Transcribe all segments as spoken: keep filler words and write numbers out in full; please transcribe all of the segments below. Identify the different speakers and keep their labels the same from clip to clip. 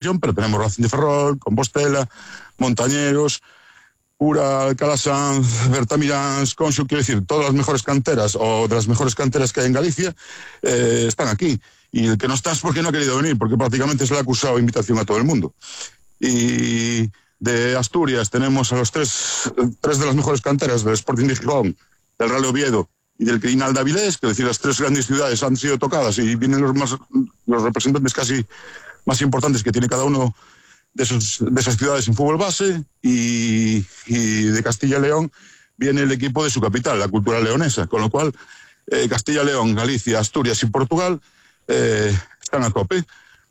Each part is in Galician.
Speaker 1: pero tenemos Racing de Ferrol, Compostela, Montañeros, Ura, Calasanz, Bertamiráns, Conxo, quiero decir, todas las mejores canteras o de las mejores canteras que hay en Galicia eh, están aquí. Y el que no está es porque no ha querido venir, porque prácticamente se le ha acusado invitación a todo el mundo. Y de Asturias tenemos a los tres, tres de las mejores canteras del Sporting de Gijón, del Real Oviedo y del Crinal de Avilés, que es decir, las tres grandes ciudades han sido tocadas y vienen los, más, los representantes casi más importantes que tiene cada uno de, esos, de esas ciudades en fútbol base, y, y de Castilla y León viene el equipo de su capital, la cultura leonesa, con lo cual eh, Castilla y León, Galicia, Asturias y Portugal eh, están a tope.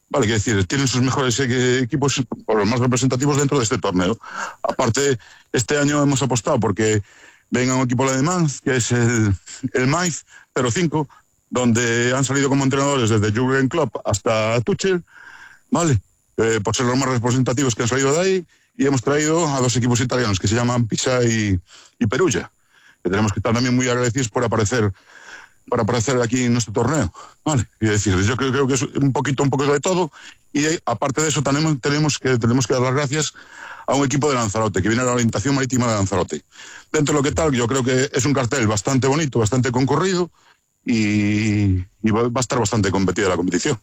Speaker 1: Vale, quiero decir, tienen sus mejores eh, equipos o los más representativos dentro de este torneo. Aparte, este año hemos apostado porque venga un equipo alemán, que es el, el Mainz cero cinco, donde han salido como entrenadores desde Jürgen Klopp hasta Tuchel, ¿vale? Eh, por ser los más representativos que han salido de ahí, y hemos traído a dos equipos italianos que se llaman Pisa y, y Perugia, que tenemos que estar también muy agradecidos por aparecer para aparecer aquí en nuestro torneo, ¿vale? Y decir, yo creo, creo que es un poquito, un poco de todo, y aparte de eso tenemos, tenemos, que, tenemos que dar las gracias a un equipo de Lanzarote, que viene a la orientación marítima de Lanzarote. Dentro de lo que tal, yo creo que es un cartel bastante bonito, bastante concurrido, y, y va a estar bastante competida la competición.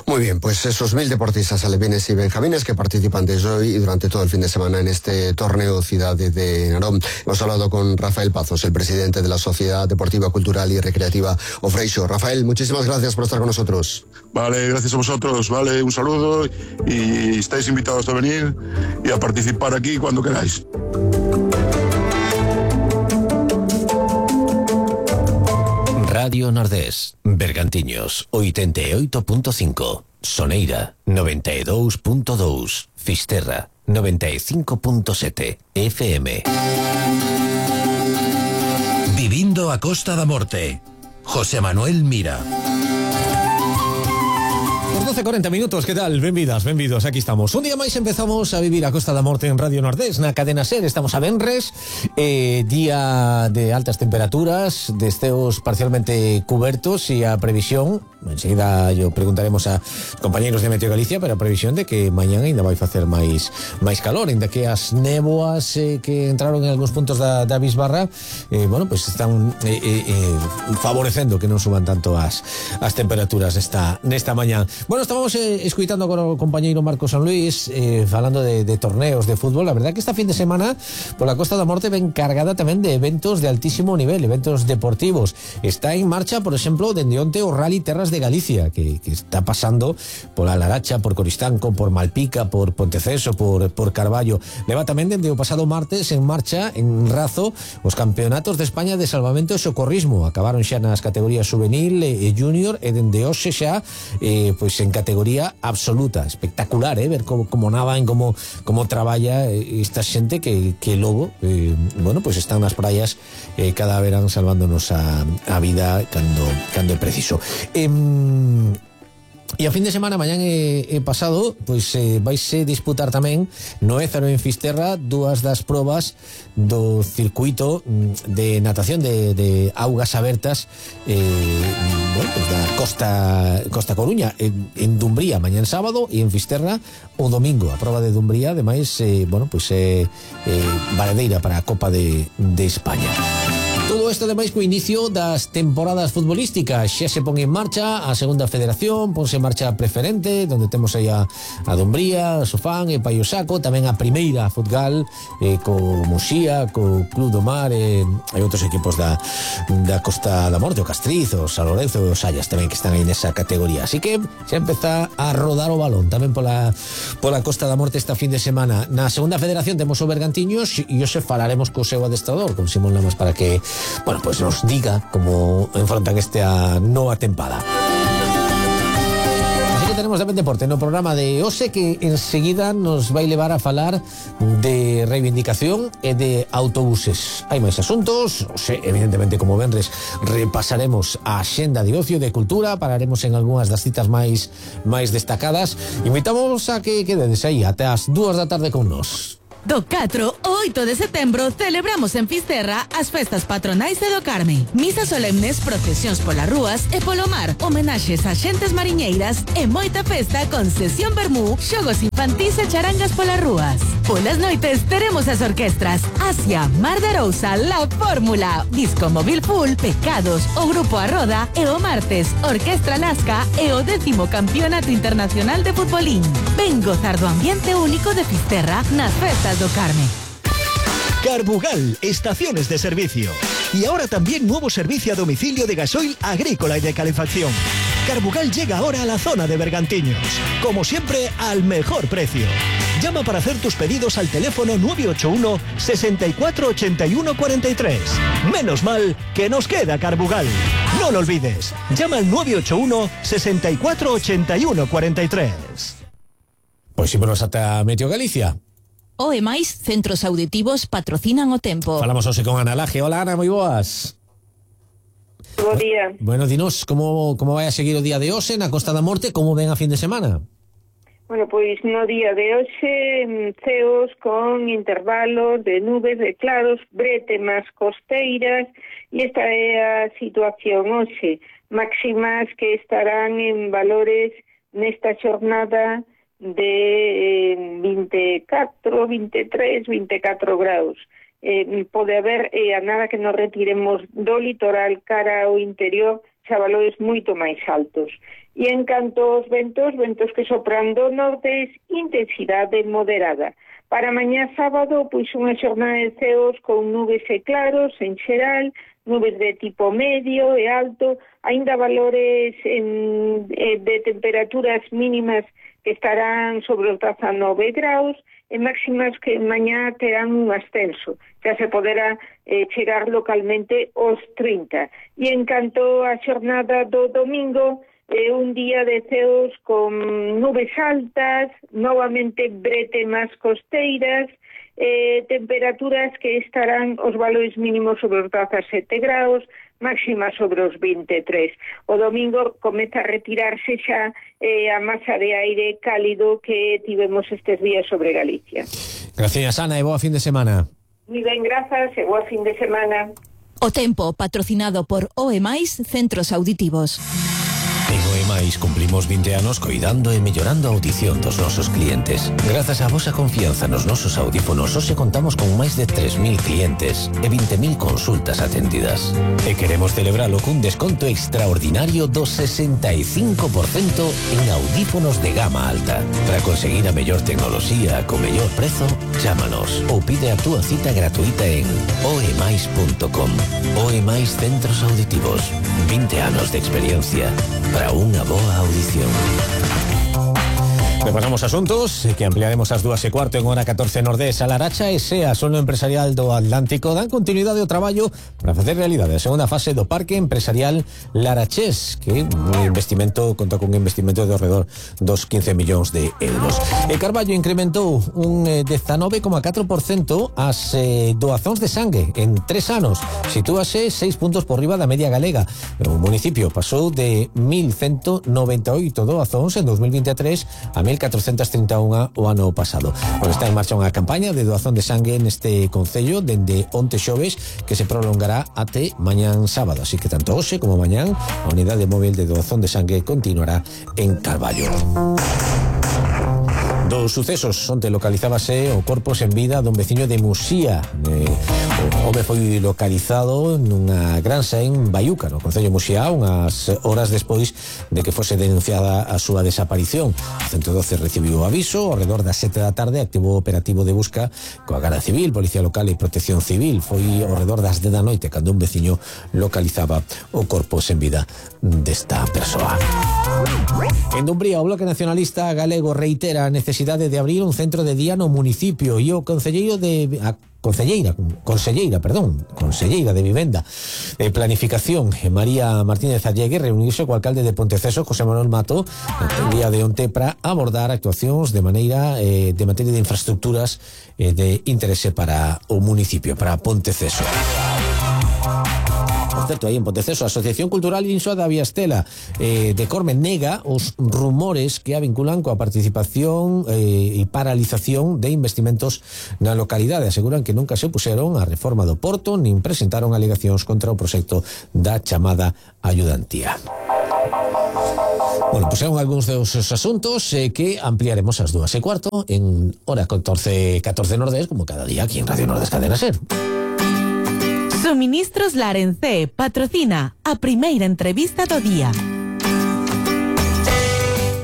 Speaker 2: Muy bien, pues esos mil deportistas alevines y benjamines que participan desde hoy y durante todo el fin de semana en este torneo Ciudad de Narón. Hemos hablado con Rafael Pazos, el presidente de la Sociedad Deportiva, Cultural y Recreativa Ofreixo. Rafael, muchísimas gracias por estar con nosotros.
Speaker 1: Vale, gracias a vosotros, vale, un saludo, y estáis invitados a venir y a participar aquí cuando queráis.
Speaker 3: Radio Nordés, Bergantiños, ochenta y ocho punto cinco, Soneira, noventa y dos punto dos, Fisterra, noventa y cinco punto siete, F M. Vivindo a Costa da Morte, José Manuel Mira.
Speaker 4: doce cuarenta minutos, ¿qué tal? Benvidas, benvidos, aquí estamos. Un día máis empezamos a vivir a Costa da Morte en Radio Nordés, na cadena SER. Estamos a venres, eh, día de altas temperaturas, de esteos parcialmente cubertos, e a previsión, enseguida yo preguntaremos a compañeros de Meteo Galicia, pero a previsión de que mañana ainda vai facer máis máis calor, ainda que as néboas eh, que entraron en algúns puntos da, da bisbarra, eh, bueno, pues están eh, eh, eh, favorecendo que non suban tanto as, as temperaturas nesta, nesta mañá. Bueno, estábamos eh, escuitando con o compañeiro Marco San Luis eh, falando de, de torneos de fútbol. La verdad que esta fin de semana por la Costa da Morte ven cargada tamén de eventos de altísimo nivel, eventos deportivos. Está en marcha, por exemplo, dende onte o Rally Terras de Galicia, que, que está pasando pola Laracha, por Coristanco, por Malpica, por Ponteceso, por, por Carballo. Leva tamén dende o pasado martes en marcha en Razo os campeonatos de España de salvamento e socorrismo. Acabaron xa nas categorías juvenil e, e junior, e dende hoxe xa eh, pois en categoría absoluta. Espectacular, eh, ver como, como nadan, como, como traballa esta xente que, que logo eh, bueno, pues están nas praias eh, cada verán salvándonos a, a vida cando, cando é preciso. Eh, E a fin de semana, mañán e, e pasado, pois eh, vaise disputar tamén no Ézaro en Fisterra dúas das probas do circuito de natación de, de augas abertas eh, bueno, pues da Costa, Costa Coruña, en, en Dumbría mañán sábado, e en Fisterra o domingo. A proba de Dumbría, ademais, eh, bueno, pues é eh, eh, valedeira para a Copa de, de España. Todo isto ademais co inicio das temporadas futbolísticas. Xa se pon en marcha a segunda federación, ponse en marcha a preferente, donde temos aí a, a Dumbría, a Sofán e Paio Saco, tamén a primeira futgal eh, co Muxía, co Club do Mar e, e outros equipos da, da Costa da Morte, o Castriz, o San Lorenzo e os Sallas tamén, que están aí nesa categoría. Así que xa empeza a rodar o balón tamén pola, pola Costa da Morte esta fin de semana. Na segunda federación temos o Bergantiños e hoxe falaremos co seu adestrador, con Simón Lamas, para que bueno, pues nos diga cómo enfrentan esta nova tempada. Así que tenemos tamén deporte no programa de hoxe, que enseguida nos vai levar a falar de reivindicación e de autobuses. Hai máis asuntos, hoxe, evidentemente, como venres, repasaremos a axenda de ocio, de cultura, pararemos en algunhas das citas máis máis destacadas. Invitamos a que quededes aí até as dúas da tarde con nós.
Speaker 5: Do catro ao oito de setembro celebramos en Fisterra as festas patronais de do Carme. Misas solemnes, procesións polas rúas e polo mar, homenaxes a xentes mariñeiras e moita festa con sesión vermú, xogos infantís e charangas polas rúas. Polas noites teremos as orquestras Asia, Mar de Arousa, La Fórmula, Disco Móvil Full, Pecados, o Grupo A Roda e o martes Orquestra Lasca e o décimo Campeonato Internacional de Futbolín. Ven gozar do ambiente único de Fisterra nas festas do Carme.
Speaker 6: Carbugal, estaciones de servicio. Y ahora también nuevo servicio a domicilio de gasoil agrícola y de calefacción. Carbugal llega ahora a la zona de Bergantiños. Como siempre, al mejor precio. Llama para hacer tus pedidos al teléfono nueve ocho uno, sesenta y cuatro, ochenta y uno, cuarenta y tres. Menos mal que nos queda Carbugal. No lo olvides. Llama al nueve ocho uno, sesenta y cuatro, ochenta y uno, cuarenta y tres.
Speaker 4: Pois ímonos ata Meteo Galicia.
Speaker 5: O e máis centros auditivos patrocinan o tempo.
Speaker 4: Falamos hoxe con Ana Laje. Hola, Ana, moi boas.
Speaker 7: Bo día.
Speaker 4: Bueno, dinos, como, como vai a seguir o día de hoxe na Costa da Morte, como ven a fin de semana?
Speaker 7: Bueno, pois no día de hoxe, ceos con intervalos de nubes, de claros, brete máis costeiras, e esta é a situación hoxe. Máximas que estarán en valores nesta xornada de eh, vinte e catro, vinte e tres, vinte e catro graus. Eh, pode haber, eh, a nada que nos retiremos do litoral cara ao interior, xa valores moito máis altos. E en canto aos ventos, ventos que sopran do norte, intensidade moderada. Para mañá sábado, pois unha xornada de ceos con nubes e claros en xeral, nubes de tipo medio e alto, aínda valores en, eh, de temperaturas mínimas que estarán sobre os dezanove graus e máximas que mañá terán un ascenso. Xa se poderá eh, chegar localmente aos trinta. E en canto a xornada do domingo, eh, un día de ceos con nubes altas, novamente brete máis costeiras, eh, temperaturas que estarán os valores mínimos sobre os dezasete graus, máxima sobre os vinte e tres. O domingo comeza a retirarse xa eh, a masa de aire cálido que tivemos estes días sobre Galicia.
Speaker 4: Gracias, Ana, e boa fin de semana.
Speaker 7: Muy ben, grazas, e boa fin de semana.
Speaker 5: O tempo patrocinado por O E máis centros auditivos.
Speaker 3: En O E máis cumplimos vinte anos coidando e mellorando a audición dos nosos clientes. Grazas á vosa confianza nos nosos audífonos, hoxe contamos con máis de tres mil clientes e vinte mil consultas atendidas. E queremos celebralo cun desconto extraordinario do sesenta e cinco por cento en audífonos de gama alta. Para conseguir a mellor tecnoloxía co mellor prezo, chámanos ou pide a túa cita gratuita en oe máis punto com. O E máis centros auditivos. vinte anos de experiencia para unha boa audición.
Speaker 4: Repasamos asuntos que ampliaremos ás dúas e cuarto en hora catorce Nordés. A Laracha e SEA, Solo Empresarial do Atlántico, dan continuidade ao traballo para facer realidade a segunda fase do Parque Empresarial Larachés, que un investimento conta con un investimento de alrededor dos quince millóns de euros. E Carballo incrementou un dezanove coma catro por cento as eh, doazóns de sangue en tres anos. Sitúase seis puntos por riba da media galega. O municipio pasou de mil ciento noventa e oito doazóns en dos mil vinte e tres a mil catrocentos trinta e un o ano pasado. Bueno, está en marcha unha campaña de doazón de sangue neste concello dende onte xoves que se prolongará até mañán sábado, así que tanto hoxe como mañán a unidade móvil de doazón de sangue continuará en Carballo. Dos sucesos, onte localizábase o corpo sen vida dun veciño de Muxía. Eh, o home foi localizado nunha granxa en Baiuca, no concello de Muxía, unhas horas despois de que fose denunciada a súa desaparición. O ciento doce recibiu o aviso, ao redor das sete da tarde activou o operativo de busca coa Garda Civil, Policía Local e Protección Civil. Foi ao redor das dez da noite cando un veciño localizaba o corpo sen vida desta persoa. En Dumbría, o Bloque Nacionalista Galego reitera a necesidade de abrir un centro de día no municipio e o concelleiro de a concelleira, conselleira, perdón, conselleira de Vivenda e Planificación, María Martínez Allegue, reuniuse co alcalde de Ponteceso, José Manuel Mato, no día de onte para abordar actuacións de maneira eh, de materia de infraestructuras eh, de interese para o municipio, para Ponteceso. Por certo, aí en Ponteceso, a Asociación Cultural Insoa da Viastela eh, de Corme nega os rumores que a vinculan coa participación eh, e paralización de investimentos na localidade. Aseguran que nunca se opuseron á reforma do Porto nin presentaron alegacións contra o proxecto da chamada ayudantía. Bueno, pues son algúns dos asuntos eh, que ampliaremos ás dúas e cuarto en hora catorce, catorce Nordés, como cada día aquí en Radio Nordés Cadena Ser.
Speaker 5: Suministros Larencé patrocina a primeira entrevista do día.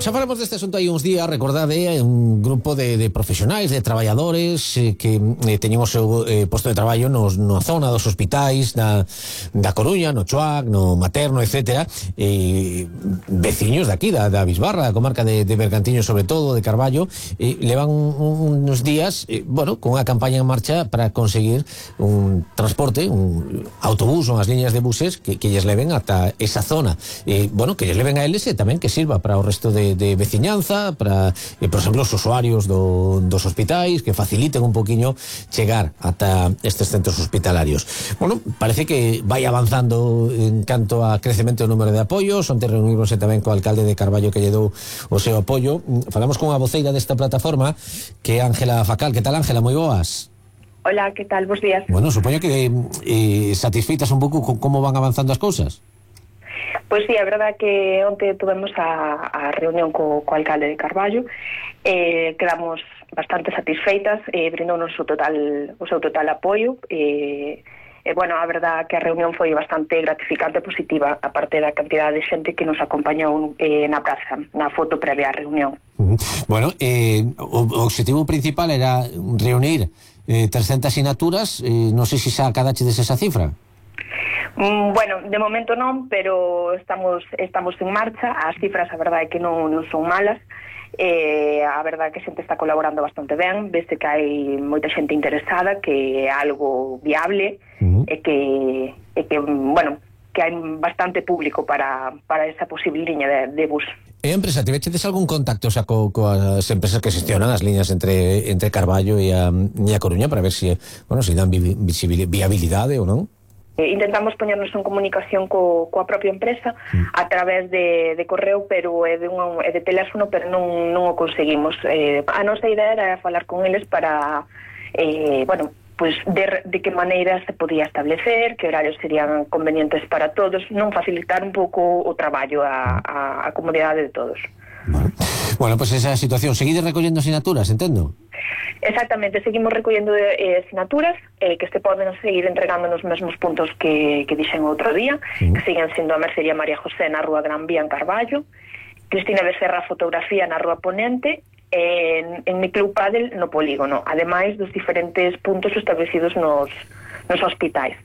Speaker 4: Xa falamos deste asunto hai uns días, recordade, un grupo de, de profesionais, de traballadores eh, que eh, teñen o seu eh, posto de traballo nos, na zona dos hospitais da, da Coruña, no Choac, no Materno, etcétera, e veciños de aquí, da, da Bisbarra, da comarca de, de Bergantiños, sobre todo, de Carballo, e levan un, unos días, eh, bueno, con unha campaña en marcha para conseguir un transporte, un autobús ou as liñas de buses que, que lles leven ata esa zona. E, bueno, que lles leven a eles e tamén que sirva para o resto de de veciñanza, para, eh, por exemplo, os usuarios do, dos hospitais, que faciliten un poquinho chegar ata estes centros hospitalarios. Bueno, parece que vai avanzando en canto a crecemento do número de apoios. Onte reunimos tamén co alcalde de Carballo que lle dou o seu apoio. Falamos con a voceira desta plataforma, que é Ángela Facal. Que tal, Ángela? Moi boas.
Speaker 8: Hola, que tal? Bos días.
Speaker 4: Bueno, supoño que eh, satisfeitas un pouco con como van avanzando as cousas.
Speaker 8: Pois sí, é verdade que onte tuvemos a, a reunión co, co alcalde de Carballo, eh, quedamos bastante satisfeitas, eh, brindounos o total, o seu total apoio, e eh, eh, bueno, a verdade que a reunión foi bastante gratificante e positiva, a parte da cantidade de xente que nos acompañou eh, na praza, na foto previa á reunión.
Speaker 4: Uh-huh. Bueno, eh, o, o objetivo principal era reunir eh, trescentas sinaturas, eh, non sei se xa acadachedes esa cifra.
Speaker 8: Mm, bueno, de momento non, pero estamos estamos en marcha. As cifras, a verdade é que non, non son malas. Eh, a verdade é que a xente está colaborando bastante ben. Vese que hai moita xente interesada, que é algo viable, uh-huh. e que, e que bueno, que hai bastante público para, para esa posible liña de, de bus.
Speaker 4: E empresa, tivechedes algún contacto xa co, coas empresas que xestionan as liñas entre entre Carballo e a, e a Coruña para ver se, bueno, se dan vi, viabilidade ou non?
Speaker 8: Eh, intentamos poñernos en comunicación co, coa propia empresa mm. a través de, de correo, pero é de, un, é de teléfono, pero non, non o conseguimos. Eh, a nosa idea era falar con eles para, eh, bueno, pues de, de que maneira se podía establecer, que horarios serían convenientes para todos, non facilitar un pouco o traballo a, a, a comunidade de todos.
Speaker 4: Bueno, bueno, pues esa situación. Seguides recollendo asignaturas, entendo?
Speaker 8: Exactamente, seguimos recollendo eh, asignaturas eh, que se poden seguir entregando nos mesmos puntos que, que dixen outro día, sí. Que siguen sendo a Mercería María José na Rúa Gran Vía en Carballo, Cristina Becerra Fotografía na Rúa Ponente, en, en Mi Club Padel no Polígono, ademais dos diferentes puntos establecidos nos, nos hospitais.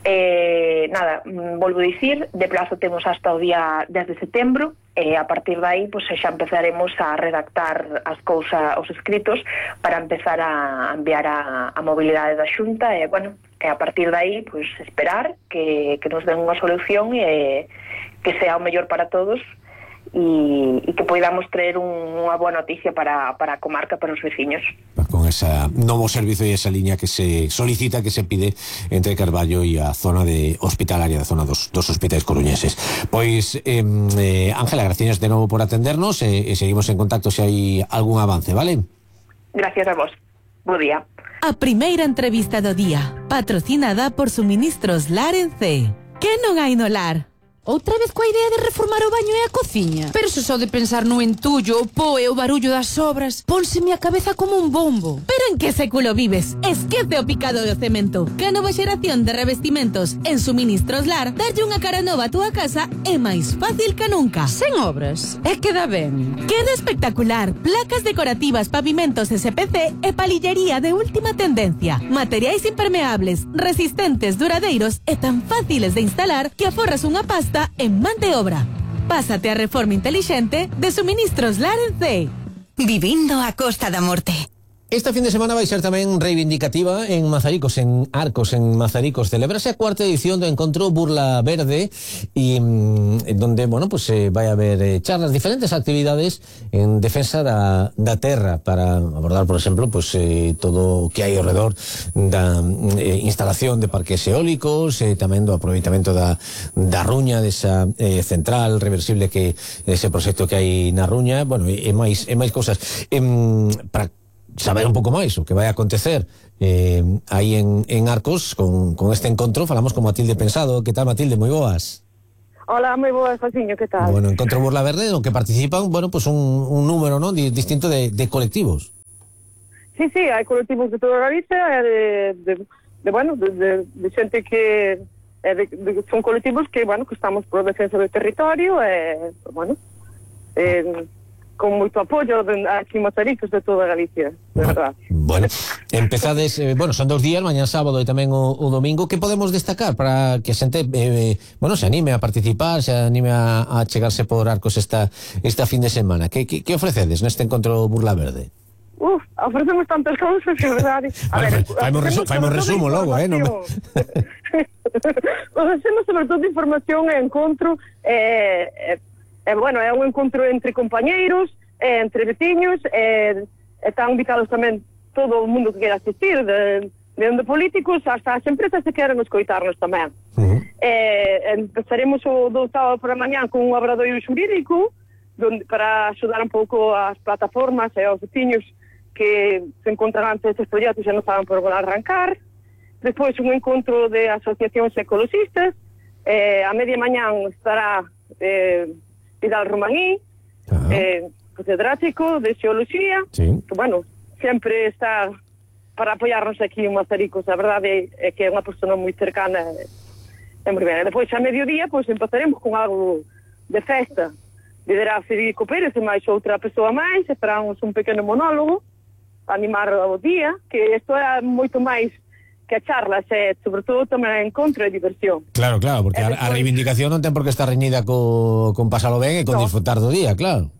Speaker 8: Eh, nada, volvo a dicir, de plazo temos hasta o día dez de setembro, e a partir de aí pues, xa empezaremos a redactar as cousas, os escritos, para empezar a enviar a, a mobilidade da Xunta, e bueno, e a partir de aí pues, esperar que, que nos den unha solución e que sea o mellor para todos, e, e que podamos traer un, unha boa noticia para, para a comarca, para os veciños.
Speaker 4: Con ese novo servizo e esa liña que se solicita, que se pide entre Carballo e a zona de hospitalaria, da zona dos, dos hospitais coruñeses. Pois, eh, Ángela, gracias de novo por atendernos e, e seguimos en contacto se hai algún avance, vale?
Speaker 8: Gracias a vos. Bo día.
Speaker 5: A primeira entrevista do día, patrocinada por Suministros Larencé. Que non hai no lar?
Speaker 9: Outra vez coa idea de reformar o baño e a cociña? Pero se só de pensar no entullo, o po e o barullo das obras, pónseme a cabeza como un bombo.
Speaker 5: Pero en que século vives? Esquece o picado do cemento. Que a nova xeración de revestimentos en Suministros Lar darlle unha cara nova a túa casa é máis fácil que nunca.
Speaker 9: Sen obras, é que dá ben.
Speaker 5: Queda espectacular. Placas decorativas, pavimentos S P C e palillería de última tendencia. Materiais impermeables, resistentes, duradeiros e tan fáciles de instalar que aforras unha pasta en man de obra. Pásate a reforma intelixente de Suministros Larencé.
Speaker 10: Vivindo a Costa da Morte.
Speaker 4: Esta fin de semana vai ser tamén reivindicativa en Mazaricos, en Arcos, en Mazaricos. Celebrase a cuarta edición do encontro Burla Verde e mm, donde, bueno, pues eh, vai haber eh, charlas, diferentes actividades en defensa da, da terra para abordar, por exemplo, pues eh, todo o que hai ao redor da eh, instalación de parques eólicos, eh, tamén do aproveitamento da, da Ruña, desa eh, central reversible que ese proxecto que hai na Ruña, bueno, e, e máis e máis cousas. E, para saber un pouco máis o que vai acontecer eh, aí en, en Arcos con, con este encontro, falamos con Matilde Pensado. Que tal, Matilde? Moi boas.
Speaker 10: Hola, moi boas, Josiño, que tal?
Speaker 4: Bueno, encontro Burla Verde, no que participan, bueno, pues un, un número, ¿no?, di, distinto de, de colectivos.
Speaker 10: Sí, sí, hai colectivos de toda Galicia, de, de, de bueno, de, de, de xente que eh, de, de, son colectivos que, bueno, que estamos por defensa do territorio, e, eh, bueno, eh, con moito apoio aquí en Mazaricos de toda Galicia, de verdad.
Speaker 4: Bueno, empezades, eh, bueno, son dos días, mañá sábado e tamén o, o domingo. Que podemos destacar para que a xente, eh, bueno, se anime a participar, se anime a, a chegarse por Arcos esta esta fin de semana? Que, que, que ofrecedes neste encontro Burla Verde?
Speaker 10: Uf, ofrecemos tantas cousas, que verdade. A
Speaker 4: vale,
Speaker 10: ver,
Speaker 4: faimos resu faimos resumo logo, eh? Non me...
Speaker 10: Ofrecemos sobre todo información e encontro, eh, eh, eh, bueno, é un encontro entre compañeiros, eh, entre veciños, eh, están invitados tamén todo o mundo que quera asistir, de, de onde políticos hasta as empresas que queren escoitarnos tamén. Uh-huh. eh, empezaremos o do sábado por a mañán con un obradoiro xurídico donde, para axudar un pouco as plataformas e aos veciños que se encontran antes estes proxectos e non saben por onde arrancar. Despois un encontro de asociacións ecologistas, eh, a media mañán estará eh, Vidal Romaní, uh-huh. eh, catedrático de Xeoloxía, sí. Que, bueno, sempre está para apoiarnos aquí en Mazaricos. A verdade é que é unha persona moi cercana e, e moi ben. E depois, a mediodía, pois, empezaremos con algo de festa. Liderá Federico Pérez e máis outra persoa máis, e faramos un pequeno monólogo para animar o día, que isto é moito máis que a charlas, é, sobre todo, tamén encontro e diversión.
Speaker 4: Claro, claro, porque despois, a, a reivindicación non ten por que estar reñida co, con pasalo ben e con no. disfrutar do día, claro.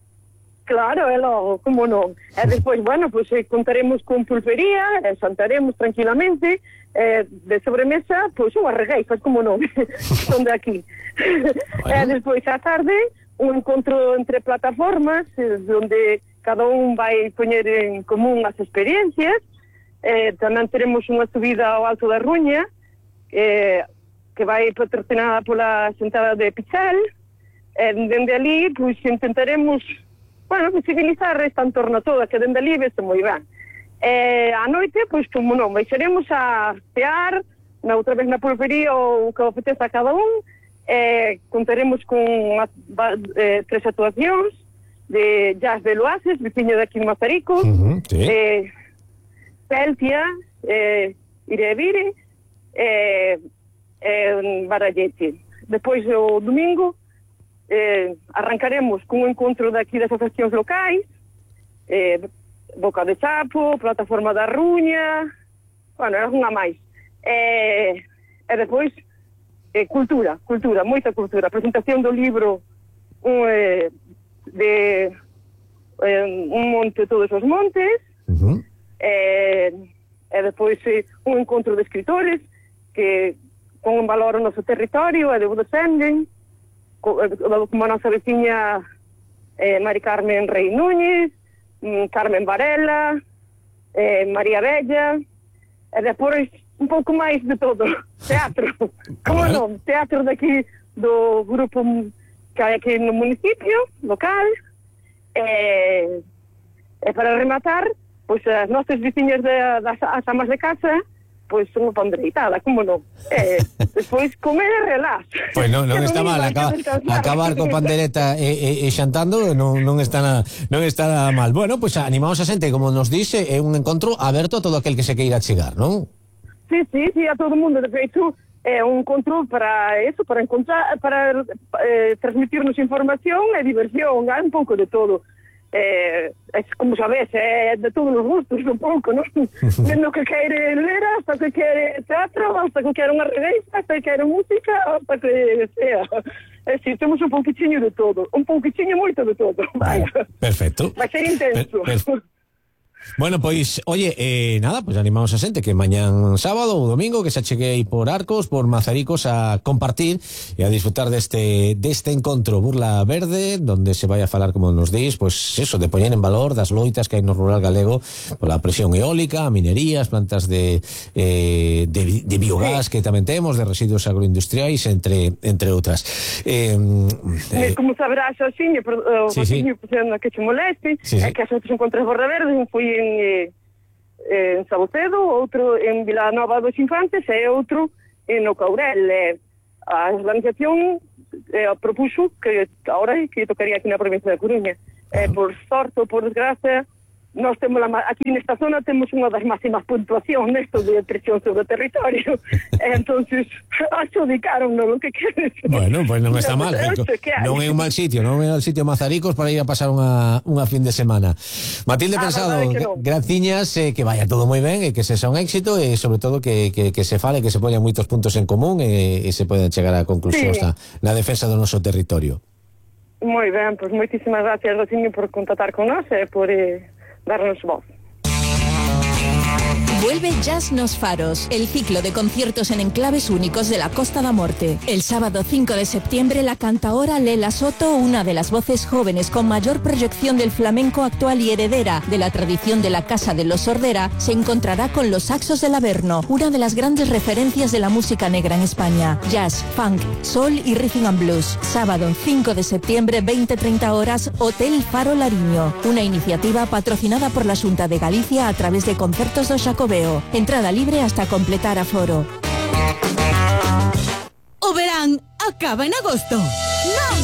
Speaker 10: Claro, é logo, como non. E despois, bueno, pues, eh, contaremos con pulpería, eh, santaremos tranquilamente, eh, de sobremesa, pois, pues, unhas regueifas, como non, son de aquí. Bueno. E despois, á tarde, un encontro entre plataformas, eh, onde cada un vai poñer en común as experiencias. Eh, tamén teremos unha subida ao Alto da Ruña, eh, que vai patrocinada pola sentada de Pichal. Eh, dende ali, pois, intentaremos, bueno, visibilizar esta entorno toda, que dende ali vese moi ben. Eh, a noite, pois, como non, baixaremos a tear, na outra vez na pulpería, ou que apetece a cada un. Eh, contaremos con a, eh, tres actuacións de Jazz de Loaces, veciño de aquí en Mazaricos, uh-huh, sí. eh, Peltia, eh, Irevire, eh, eh, Barallete. Depois, o domingo, eh, arrancaremos con un encontro daqui das asociacións locais, eh, Boca de Chapo, Plataforma da Ruña, bueno, algunha máis. Eh, e depois, eh, cultura, cultura, moita cultura. Presentación do libro un, eh, de eh, Un monte todos os montes, uh-huh. eh, e depois eh, un encontro de escritores que con un valor o noso territorio e de o defenden, como a nosa veciña eh, Mari Carmen Rey Núñez, Carmen Varela, eh, María Bella, e depois un pouco máis de todo, teatro, como non, teatro daqui do grupo que hai aquí no municipio local, e, e para rematar, pois as nosas veciñas de, das as amas de casa, pois unha pandreitada, como non? E despois comer e relax.
Speaker 4: Pois non, non está mal, acaba, acabar con pandereta e, e, e xantando non, non está nada, non está nada mal. Bueno, pois animamos a xente, como nos dice, é un encontro aberto a todo aquel que se queira chegar, non?
Speaker 10: Sí, sí, sí, a todo o mundo, de feito, é un encontro para eso, para encontrar, para eh, transmitirnos información e diversión, hai un pouco de todo. Eh, es, como sabes, é de todos os gustos, un pouco, non? Dendo que quere ler, hasta que quere teatro, hasta que quere unha revista, hasta que quere música, hasta que sea. É dicir, temos un pouquichiño de todo, un pouquichiño moito de todo. Vale,
Speaker 4: perfecto.
Speaker 10: Vai ser intenso. Per, per...
Speaker 4: Bueno, pois, oye, eh, nada, pois pues animamos a xente que mañán sábado ou domingo que se achegue aí por Arcos, por Mazaricos a compartir e a disfrutar deste deste encontro Burla Verde, donde se vai a falar, como nos dís, pois pues eso, de poñer en valor das loitas que hai no rural galego pola presión eólica, a minería, as plantas de, eh, de, de biogás que tamén temos, de residuos agroindustriais, entre entre outras. Eh,
Speaker 10: eh, como sabrás, Xiño, o
Speaker 4: sí, sí.
Speaker 10: Xiño, que che moleste,
Speaker 4: sí, sí.
Speaker 10: é que as outras encontras Burla Verde, un foi en, eh, en Sabucedo, outro en Vilanova dos Infantes e outro en o Caurel. Eh, a organización eh, propuso que ahora que tocaría aquí na provincia de Coruña. Eh, por sorte ou por desgracia, nós temos la, aquí nesta zona temos unha das máximas puntuacións nesto de presión sobre o territorio. Entonces, adjudicaron non que queres.
Speaker 4: Bueno, pues non está mal. Eh, non é un mal sitio, non é un sitio Mazaricos para ir a pasar unha, unha fin de semana. Matilde ah, Pensado, no. graciñas, eh, que vaya todo moi ben e que se xa un éxito e sobre todo que, que, que se fale, que se poñan moitos puntos en común e, e se poden chegar a conclusións sí. na, na defensa do noso territorio.
Speaker 10: Moi ben, pois pues moitísimas gracias, Rociño, por contactar con nós e por... Eh, darnos voz.
Speaker 11: Vuelve Jazz Nos Faros, el ciclo de conciertos en enclaves únicos de la Costa da Morte. El sábado cinco de septiembre, la cantaora Lela Soto, una de las voces jóvenes con mayor proyección del flamenco actual y heredera de la tradición de la Casa de los Sordera, se encontrará con los Saxos del Averno, una de las grandes referencias de la música negra en España. Jazz, funk, soul y rhythm and blues. Sábado cinco de septiembre, veinte treinta horas, Hotel Faro Lariño. Una iniciativa patrocinada por la Xunta de Galicia a través de Concertos do Xacobeo. Entrada libre hasta completar aforo.
Speaker 5: O verán acaba en agosto. ¡Non!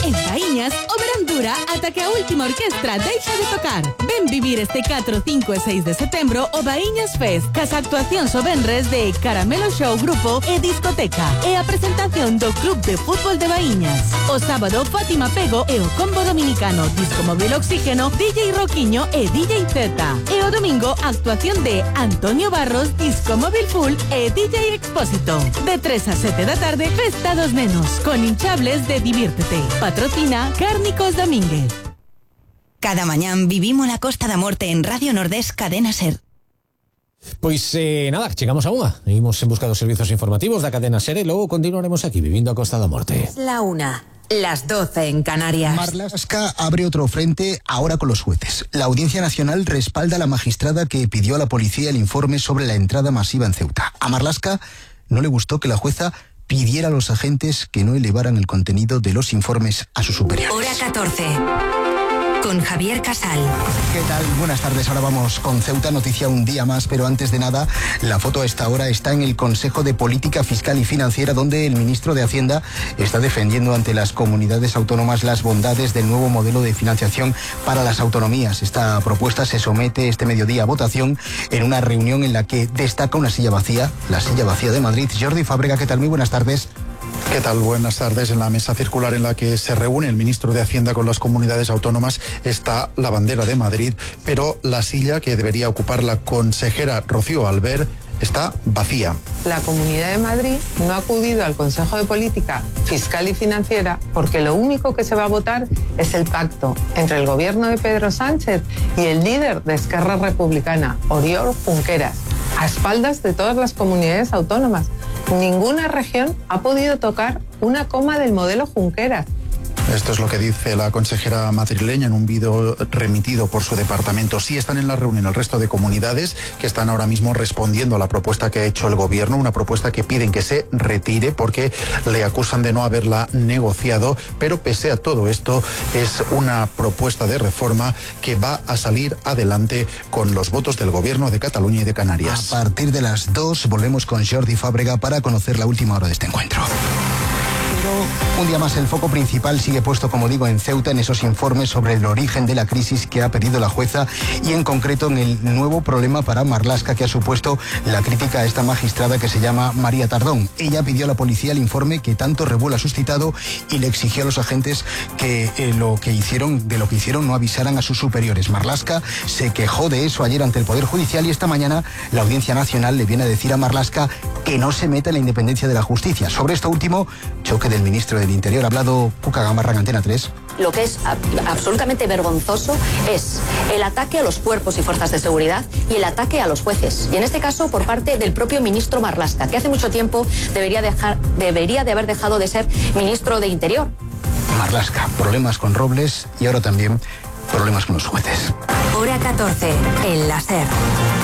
Speaker 5: En Baíñas, o verán dura ata que a última orquestra deixa de tocar. Ven vivir este catro, cinco e seis de setembro o Baíñas Fest, cas actuacións o venres de Caramelo Show Grupo e Discoteca, e a presentación do Club de Fútbol de Baíñas. O sábado, Fátima Pego e o combo dominicano Disco Móvil Oxígeno, D J Roquiño e D J Z. E o domingo, actuación de Antonio Barros, Disco Móvil Full e D J Expósito. De tres a sete da tarde, Festa dos Nenos, con hinchables de Diviértete. Patrocina Cárnicos Domínguez.
Speaker 12: Cada mañán vivimos la Costa da Morte en Radio Nordés Cadena Ser.
Speaker 4: Pois eh, nada, chegamos a unha. Imos en busca dos servizos informativos da Cadena Ser e logo continuaremos aquí vivindo a Costa da Morte.
Speaker 12: La una, las doce en Canarias.
Speaker 13: Marlaska abre otro frente ahora con los jueces. La Audiencia Nacional respalda a la magistrada que pidió a la policía el informe sobre la entrada masiva en Ceuta. A Marlaska no le gustó que la jueza pidiera a los agentes que no elevaran el contenido de los informes a sus superiores.
Speaker 12: Hora catorce. Con Javier Casal.
Speaker 13: ¿Qué tal? Buenas tardes. Ahora vamos con Ceuta, noticia un día más, pero antes de nada, la foto a esta hora está en el Consejo de Política Fiscal y Financiera, donde el ministro de Hacienda está defendiendo ante las comunidades autónomas las bondades del nuevo modelo de financiación para las autonomías. Esta propuesta se somete este mediodía a votación en una reunión en la que destaca una silla vacía, la silla vacía de Madrid. Jordi Fábrega, ¿qué tal? Muy buenas tardes.
Speaker 14: ¿Qué tal? Buenas tardes. En la mesa circular en la que se reúne el ministro de Hacienda con las comunidades autónomas está la bandera de Madrid, pero la silla que debería ocupar la consejera Rocío Albert está vacía.
Speaker 15: La Comunidad de Madrid no ha acudido al Consejo de Política Fiscal y Financiera porque lo único que se va a votar es el pacto entre el gobierno de Pedro Sánchez y el líder de Esquerra Republicana, Oriol Junqueras, a espaldas de todas las comunidades autónomas. Ninguna región ha podido tocar una coma del modelo Junqueras.
Speaker 14: Esto es lo que dice la consejera madrileña en un vídeo remitido por su departamento. Sí están en la reunión el resto de comunidades que están ahora mismo respondiendo a la propuesta que ha hecho el gobierno, una propuesta que piden que se retire porque le acusan de no haberla negociado, pero pese a todo esto es una propuesta de reforma que va a salir adelante con los votos del gobierno de Cataluña y de Canarias.
Speaker 13: A partir de las dos volvemos con Jordi Fábrega para conocer la última hora de este encuentro. Un día más el foco principal sigue puesto, como digo, en Ceuta, en esos informes sobre el origen de la crisis que ha pedido la jueza y en concreto en el nuevo problema para Marlaska que ha supuesto la crítica a esta magistrada que se llama María Tardón. Ella pidió a la policía el informe que tanto revuelo ha suscitado y le exigió a los agentes que eh, lo que hicieron, de lo que hicieron no avisaran a sus superiores. Marlaska se quejó de eso ayer ante el Poder Judicial y esta mañana la Audiencia Nacional le viene a decir a Marlaska que no se meta en la independencia de la justicia. Sobre esto último, choque del ministro del Interior. Ha hablado Cuca Gamarra en Antena tres.
Speaker 16: lo que es a, absolutamente vergonzoso es el ataque a los cuerpos y fuerzas de seguridad y el ataque a los jueces. Y en este caso por parte del propio ministro Marlaska, que hace mucho tiempo debería, dejar, debería de haber dejado de ser ministro de Interior.
Speaker 13: Marlaska, problemas con Robles y ahora también problemas con los jueces.
Speaker 12: Hora catorce, el láser,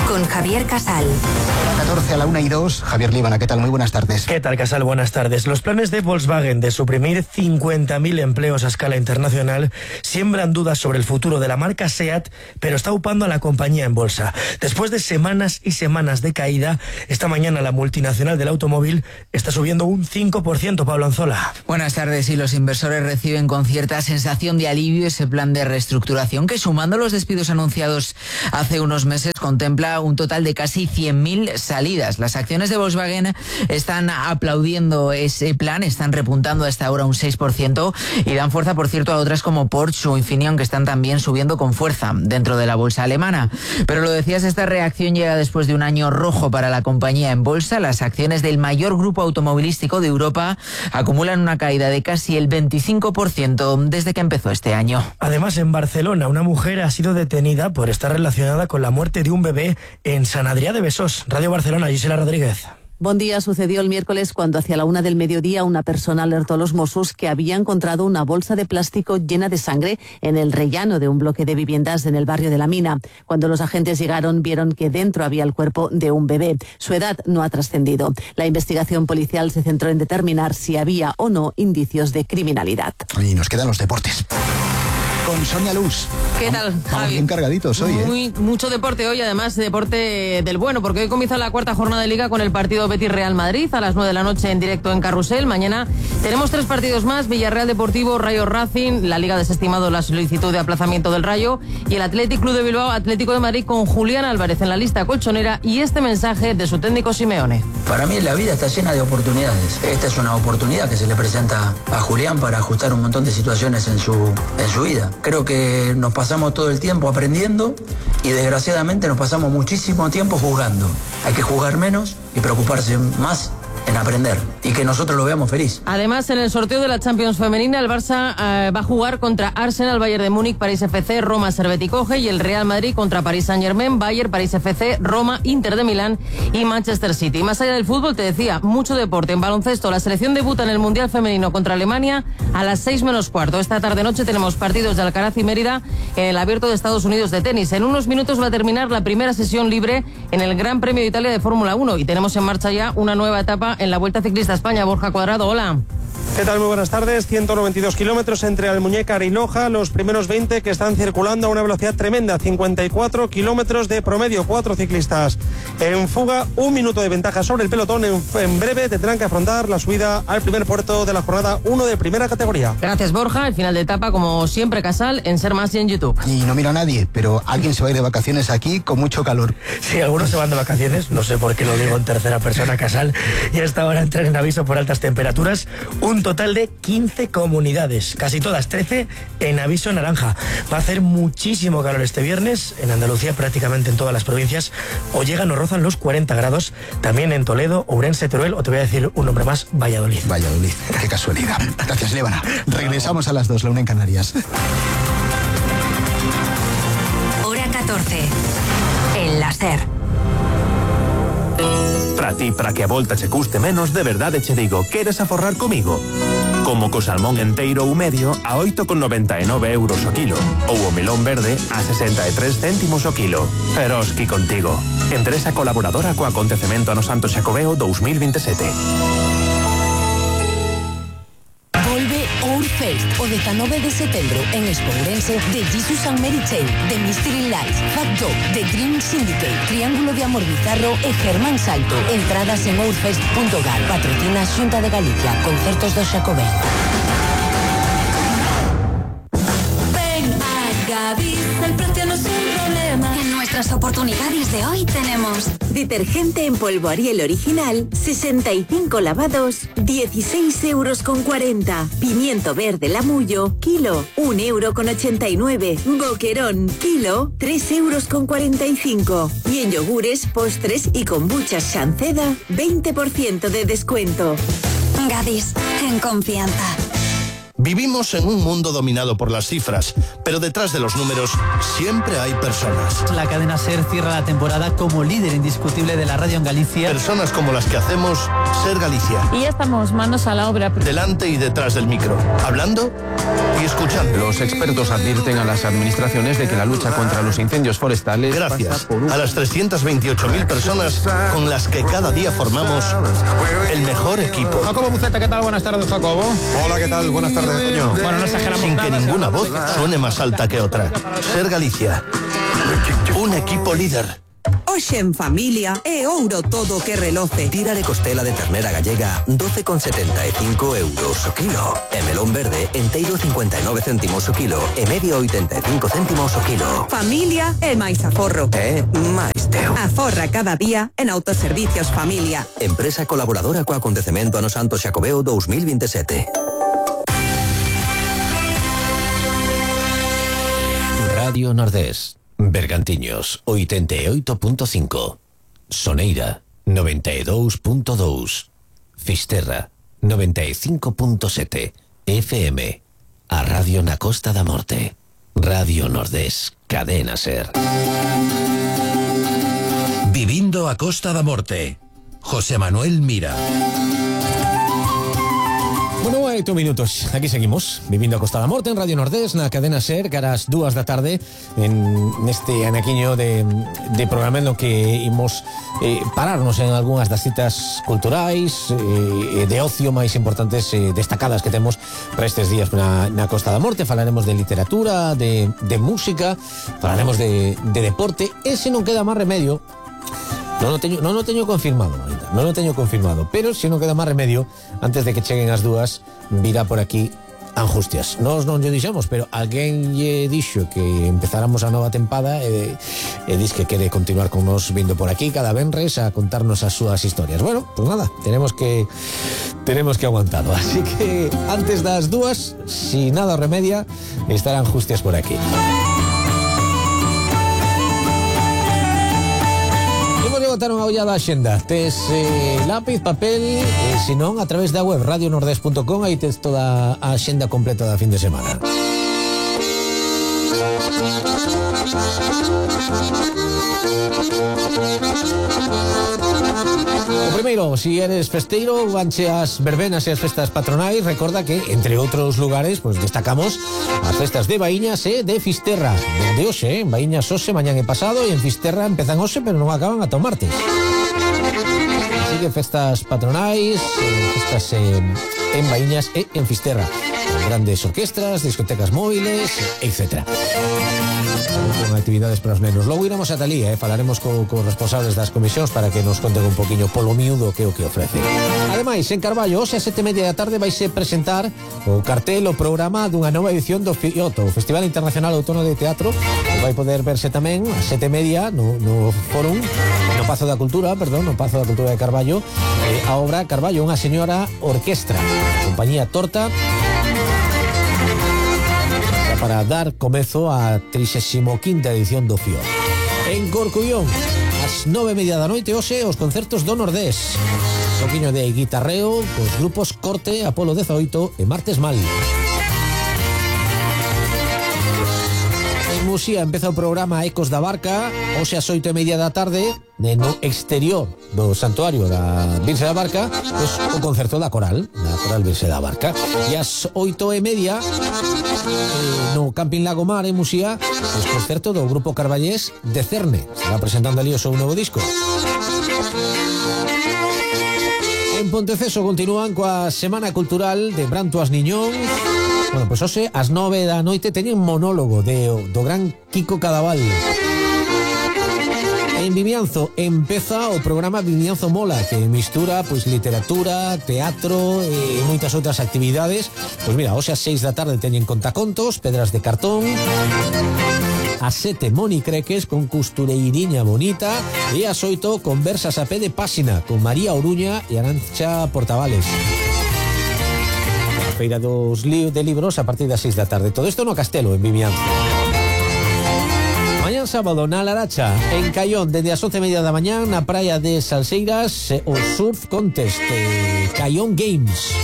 Speaker 12: con Javier Casal.
Speaker 13: Hora catorce a la una y dos, Javier Líbana, ¿qué tal? Muy buenas tardes.
Speaker 17: ¿Qué tal, Casal? Buenas tardes. Los planes de Volkswagen de suprimir cincuenta mil empleos a escala internacional siembran dudas sobre el futuro de la marca SEAT, pero está upando a la compañía en bolsa. Después de semanas y semanas de caída, esta mañana la multinacional del automóvil está subiendo un cinco por ciento, Pablo Anzola.
Speaker 18: Buenas tardes, y los inversores reciben con cierta sensación de alivio ese plan de reestructuración que, sumando los despidos anunciados hace unos meses, contempla un total de casi cien mil salidas. Las acciones de Volkswagen están aplaudiendo ese plan, están repuntando hasta ahora un seis por ciento y dan fuerza, por cierto, a otras como Porsche o Infineon, que están también subiendo con fuerza dentro de la bolsa alemana. Pero lo decías, esta reacción llega después de un año rojo para la compañía en bolsa. Las acciones del mayor grupo automovilístico de Europa acumulan una caída de casi el veinticinco por ciento desde que empezó este año.
Speaker 17: Además, en Barcelona, una mujer ha sido detenida por estar relacionada con la muerte de un bebé en San Adrià de Besós. Radio Barcelona, Gisela Rodríguez.
Speaker 19: Bon día. Sucedió el miércoles cuando hacia la una del mediodía una persona alertó a los Mossos que había encontrado una bolsa de plástico llena de sangre en el rellano de un bloque de viviendas en el barrio de La Mina. Cuando los agentes llegaron, vieron que dentro había el cuerpo de un bebé. Su edad no ha trascendido. La investigación policial se centró en determinar si había o no indicios de criminalidad.
Speaker 13: Y nos quedan los deportes. Con Sonia Luz.
Speaker 20: ¿Qué tal,
Speaker 13: Vamos
Speaker 20: Javi?
Speaker 13: bien cargaditos hoy, ¿eh?
Speaker 20: Muy, mucho deporte hoy, además deporte del bueno, porque hoy comienza la cuarta jornada de Liga con el partido Betis-Real Madrid a las nueve de la noche en directo en Carrusel. Mañana tenemos tres partidos más: Villarreal Deportivo, Rayo Racing. La Liga ha desestimado la solicitud de aplazamiento del Rayo, y el Athletic Club de Bilbao, Atlético de Madrid, con Julián Álvarez en la lista colchonera, y este mensaje de su técnico Simeone.
Speaker 21: Para mí la vida está llena de oportunidades. Esta es una oportunidad que se le presenta a Julián para ajustar un montón de situaciones en su, en su vida. Creo que nos pasamos todo el tiempo aprendiendo y desgraciadamente nos pasamos muchísimo tiempo jugando. Hay que jugar menos y preocuparse más en aprender, y que nosotros lo veamos feliz.
Speaker 20: Además, en el sorteo de la Champions femenina, el Barça eh, va a jugar contra Arsenal, Bayern de Múnich, París F C, Roma, Servette y Coge, y el Real Madrid contra París Saint-Germain, Bayern, París F C, Roma, Inter de Milán y Manchester City. Y más allá del fútbol, te decía, mucho deporte. En baloncesto, la selección debuta en el Mundial Femenino contra Alemania a las seis menos cuarto. Esta tarde-noche tenemos partidos de Alcaraz y Mérida en el Abierto de Estados Unidos de tenis. En unos minutos va a terminar la primera sesión libre en el Gran Premio de Italia de Fórmula uno, y tenemos en marcha ya una nueva etapa en la Vuelta Ciclista a España. Borja Cuadrado, hola.
Speaker 22: ¿Qué tal? Muy buenas tardes. ciento noventa y dos kilómetros entre Almuñécar y Noja. Los primeros veinte que están circulando a una velocidad tremenda. cincuenta y cuatro kilómetros de promedio. Cuatro ciclistas en fuga. Un minuto de ventaja sobre el pelotón. En, en breve tendrán que afrontar la subida al primer puerto de la jornada uno de primera categoría.
Speaker 20: Gracias, Borja. El final de etapa, como siempre, Casal, en Ser Más y en YouTube.
Speaker 13: Y no mira a nadie, pero alguien se va a ir de vacaciones aquí con mucho calor.
Speaker 17: Sí, algunos se van de vacaciones. No sé por qué lo digo en tercera persona, Casal. Y hasta ahora entran en aviso por altas temperaturas. Un total de quince comunidades, casi todas, trece en aviso naranja. Va a hacer muchísimo calor este viernes en Andalucía, prácticamente en todas las provincias. O llegan o rozan los cuarenta grados, también en Toledo, Ourense, Teruel, o te voy a decir un nombre más, Valladolid.
Speaker 13: Valladolid, qué casualidad. Gracias, Líbana. Regresamos a las dos, la una en Canarias.
Speaker 12: Hora catorce, el láser.
Speaker 23: Para ti, para que a volta che custe menos, de verdade che digo, queres aforrar comigo? Como co salmón enteiro ou medio a oito con noventa e nove euros o kilo, ou o melón verde a sesenta e tres céntimos o kilo. Eroski contigo. Empresa colaboradora co acontecemento ano Santo Xacobeo dous mil veintisiete.
Speaker 24: Volve Ourfest o dezanove de setembro en Expo Ourense de Jesus and Mary Chain, The Mystery Lights, Fat Dog, The Dream Syndicate, Triángulo de Amor Bizarro e Germán Salto. Entradas en ourfest punto gal. Patrocina Xunta de Galicia. Concertos do Xacobeo.
Speaker 25: Ven a Gadis, el precio no es un problema.
Speaker 12: En nuestras oportunidades de hoy tenemos detergente en polvo Ariel original, sesenta y cinco lavados, dieciséis euros con cuarenta. Pimiento verde Lamullo, kilo, un euro con ochenta y nueve. Boquerón, kilo, tres euros con cuarenta y cinco. Y en yogures, postres y kombuchas Shanceda, veinte por ciento de descuento.
Speaker 11: Gadis, en confianza.
Speaker 1: Vivimos en un mundo dominado por las cifras, pero detrás de los números siempre hay personas.
Speaker 2: La cadena SER cierra la temporada como líder indiscutible de la radio en Galicia.
Speaker 1: Personas como las que hacemos SER Galicia.
Speaker 3: Y ya estamos manos a la obra.
Speaker 1: Delante y detrás del micro, hablando y escuchando.
Speaker 6: Los expertos advierten a las administraciones de que la lucha contra los incendios forestales...
Speaker 1: Gracias a las trescientas veintiocho mil personas con las que cada día formamos el mejor equipo.
Speaker 7: Jacobo Buceta, ¿qué tal? Buenas tardes, Jacobo.
Speaker 26: Hola, ¿qué tal? Buenas tardes, Toño.
Speaker 7: Bueno, no exageramos
Speaker 1: Sin
Speaker 7: nada,
Speaker 1: que ninguna voz suene más alta que otra. SER Galicia. Un equipo líder.
Speaker 27: Hoxe en familia é ouro todo que reloce.
Speaker 28: Tira de costela de ternera gallega doce con setenta e cinco euros o kilo. E melón verde enteiro cincuenta e nove céntimos o kilo e medio oitenta e cinco céntimos o kilo.
Speaker 27: Familia é máis aforro.
Speaker 28: É máis teu.
Speaker 27: Aforra cada día en Autoservicios Familia.
Speaker 28: Empresa colaboradora co acontecemento Ano Santo Xacobeo dos mil veintisiete.
Speaker 4: Radio Nordés, Bergantiños oitenta e oito punto cinco, Soneira noventa e dous punto dous, Fisterra noventa e cinco punto sete, F M, a Radio na Costa da Morte. Radio Nordés, cadena SER.
Speaker 29: Vivindo a Costa da Morte, José Manuel Mira.
Speaker 4: Bueno, oito minutos, aquí seguimos vivindo a Costa da Morte en Radio Nordés, na cadena SER, que a las dúas da tarde en neste anaquiño de, de programa no que imos eh, pararnos en algunhas das citas culturais eh, de ocio máis importantes, eh, destacadas que temos para estes días na, na Costa da Morte. Falaremos de literatura, de, de música, falaremos de, de deporte, e se non queda máis remedio, non o teño, non o teño confirmado, Marita, non o teño confirmado, pero se non queda máis remedio, antes de que cheguen as dúas, virá por aquí Angustias. Nos non lle dixemos, pero alguén lle dixo que empezáramos a nova tempada e, e dis que quere continuar con nos vindo por aquí cada venres a contarnos as súas historias. Bueno, pues nada, tenemos que tenemos que aguantado. Así que antes das dúas, si nada remedia, estarán Angustias por aquí. Botar unha ollada a xenda. Tes eh, lápiz, papel, eh, se non, a través da web radio nordés punto com, aí tes toda a xenda completa da fin de semana. O primeiro, si eres festeiro, vanche as verbenas e as festas patronais, recorda que, entre outros lugares, pues destacamos as festas de Baíñas e de Fisterra. Dende hoxe, en Baíñas hoxe, mañán e pasado, e en Fisterra empezan hoxe, pero non acaban ata o martes. Así que festas patronais, eh, festas eh, en Baíñas e en Fisterra. Grandes orquestras, discotecas móviles, etcétera. Con actividades para os nenos. Logo iremos a Talía, eh? Falaremos co, co responsables das comisións para que nos conten un poquinho polo miúdo que é o que ofrece. Ademais, en Carballo, hoxe a sete e media da tarde vaise presentar o cartel, o programa dunha nova edición do FIOTO, o Festival Internacional Outono de Teatro, que vai poder verse tamén a sete e media no, no Fórum, no Pazo da Cultura, perdón, no Pazo da Cultura de Carballo, eh, a obra Carballo, unha señora orquestra, compañía Torta, para dar comezo á trixésima quinta edición do FIOT. En Corcubión, ás nove e media da noite hoxe, os concertos do Nordés. Un poquinho de guitarreo cos grupos Corte, Apolo dezaoito e Martes Mal. En Muxía empeza o programa Ecos da Barca, hoxe ás oito e media da tarde, no exterior do santuario da Virxe da Barca, pues, o concerto da Coral, da Coral Virxe da Barca. E ás oito e media, eh, no Camping Lagomar, en Muxía, pues, concerto do grupo Carballés de Cerne. Estará presentando ali o seu novo disco. En Ponteceso continúan coa Semana Cultural de Brantoas Niñón. Bueno, pois pues, hoxe, ás nove da noite, teñen monólogo de, do gran Kiko Cadaval. En Vimianzo empeza o programa Vimianzo Mola, que mistura pois literatura, teatro e moitas outras actividades. Pois mira, hoxe ás seis da tarde teñen contacontos, pedras de cartón. Ás sete, Moni Creques con costureiriña bonita. E ás oito, conversas a pé de páxina con María Oruña e Arancha Portavales. A feira dos li- de libros a partir das seis da tarde. Todo isto no Castelo, en Vimianzo. Mañán sábado na Laracha, en Caión, desde as once e media da mañán, na praia de Salseiras, o Surf Contest, eh, Caión Games.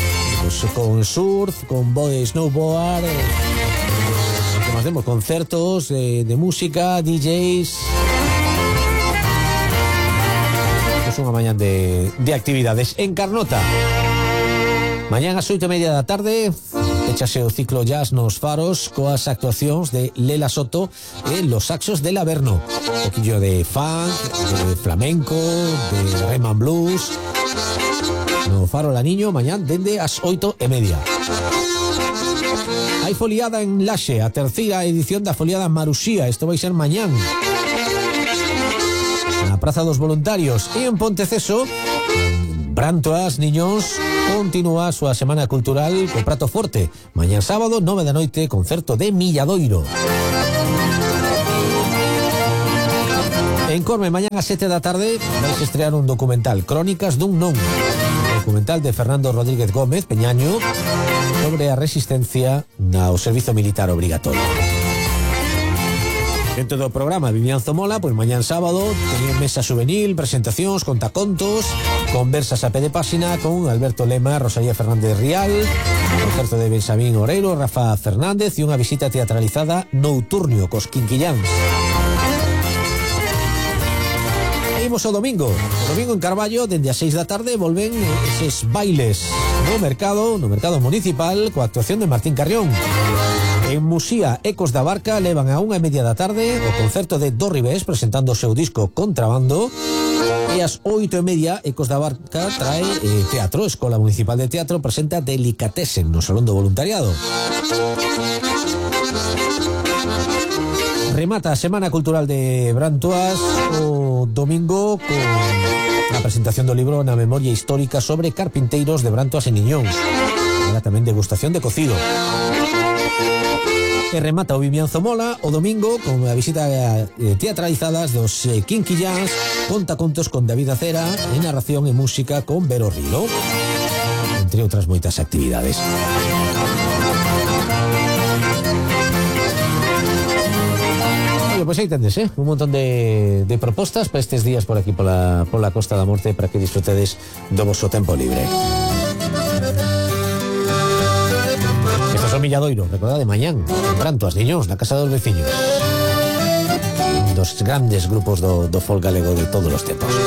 Speaker 4: pues, con surf, con body snowboard, eh, como hacemos, concertos eh, de música, D Js. Es unha mañá de, de actividades en Carnota. Mañán ás oito e media da tarde échase o ciclo jazz nos Faros coas actuacións de Lela Soto e los saxos del Averno. Un poquillo de funk, de flamenco, de rhythm and blues. No Faro La Niño, mañán dende ás oito e media. Hai foliada en Laxe, a terceira edición da foliada Maruxía. Isto vai ser mañán na Praza dos Voluntarios. E en Ponteceso, Brantoas, niños, continúa a súa semana cultural co prato forte. Mañán sábado, nove da noite, concerto de Milladoiro. En Corme, mañán a sete da tarde, vais a estrear un documental, Crónicas dun Non. Documental de Fernando Rodríguez Gómez, Peñaño, sobre a resistencia ao servizo militar obrigatorio. Dentro do programa Vivian Zomola, pois mañán sábado teñen mesa juvenil, presentacións, contacontos, conversas a pé de páxina con Alberto Lema, Rosalía Fernández Rial, concerto de Benxamín Oreiro, Rafa Fernández e unha visita teatralizada Nouturnio cos Quinquilláns. E imos ao domingo. O domingo en Carballo, dende as seis da tarde, volven eses bailes no mercado, no mercado municipal, coa actuación de Martín Carrión. En Musía, Ecos da Barca levan a unha e media da tarde o concerto de Do Ribés presentando o seu disco Contrabando, e ás oito e media Ecos da Barca trae eh, teatro. Escola Municipal de Teatro presenta Delicatessen no Salón do Voluntariado. Remata a Semana Cultural de Brantoas o domingo con a presentación do libro Na Memoria Histórica sobre carpinteiros de Brantoas e Niñóns. Era tamén degustación de cocido. E remata o Vivian Zomola o domingo con a visita eh, teatralizadas dos eh, Quinquilláns, contacontos con David Acera e narración e música con Vero Rilo, entre outras moitas actividades. Oye, pois pues aí tendes, eh? Un montón de, de propostas para estes días por aquí pola, pola Costa da Morte para que disfrutedes do vosso tempo libre. Milladoiro, recordade, mañán Brantoas, niños, na casa dos veciños, dos grandes grupos do, do folk galego de todos os tempos.